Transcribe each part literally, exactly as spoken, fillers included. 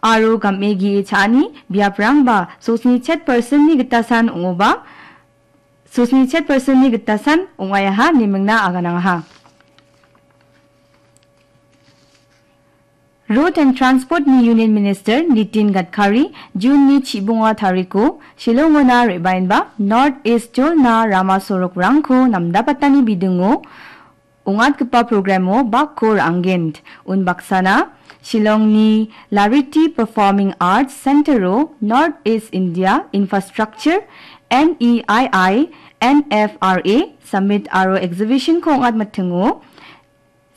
aro game ge·e cha·ani biaprangba sosni chet percent-ni gitasan ong·oba, sosni chet percent-ni gitasan ong·aiaha ine mingna aganangaha. Road and Transport-ni Union Minister Nitin Gadkari June-ni chibonga tariko Shillongona re·baenba North East jolna rama sorokrangko namdapatani bidingo ong·atgipa programo bakko ra·angen. Unbaksana Shillongni Lariti Performing Arts Center-o North East India Infrastructure, N E I I, N F R A Summit aro Exhibition-ko ong·atmatingo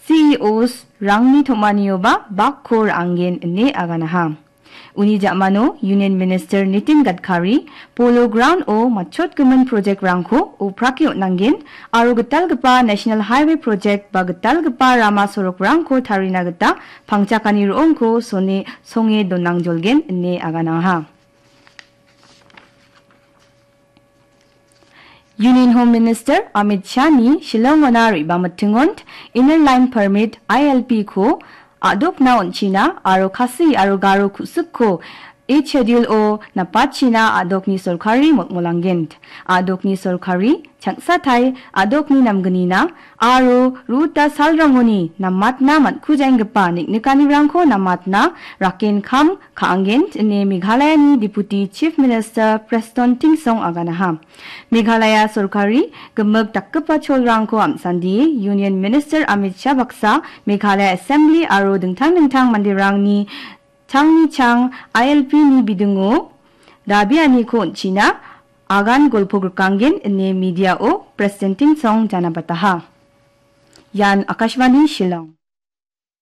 C E Os-rangni tom·anioba bakko ra·angen ine aganaha. Uni ja·mano Union Minister Nitin Gadkari Polo Ground-o matchotgimin project-rangko oprake on·angen aro gitalgipa National Highway project ba gitalgipa rama sorokrangko tarina gita pangchakani ro·ongko sone-, songe donangjolgen ine aganangaha. Union Home Minister Amit Shah-ni Shillongona re·bamitingon Inner Line Permit, I L P-ko a·dokna on·china aro Khasi aro Garo ku·sikko Eighth Schedule-o napachina a·dokni sorkari molmolangen. A·dokni sorkari changsatai a·dokni namgnina aro ruta salrangoni namatna man·kujenggipa niknikanirangko namatna raken kam ka·angen ine Meghalayani Deputy Chief Minister Prestone Tynsong aganaha. Meghalaya sorkari gimik dakgipa cholrangko am·sandie Union Minister Amit Shah baksa Meghalaya Assembly aro dingtang dingtang manderangni changni chang I L P-ni bidingo dabianiko on·china agan golpo grikanggen ine media-o Prestone Tynsong janabataha. Ian Akashvani Shillong.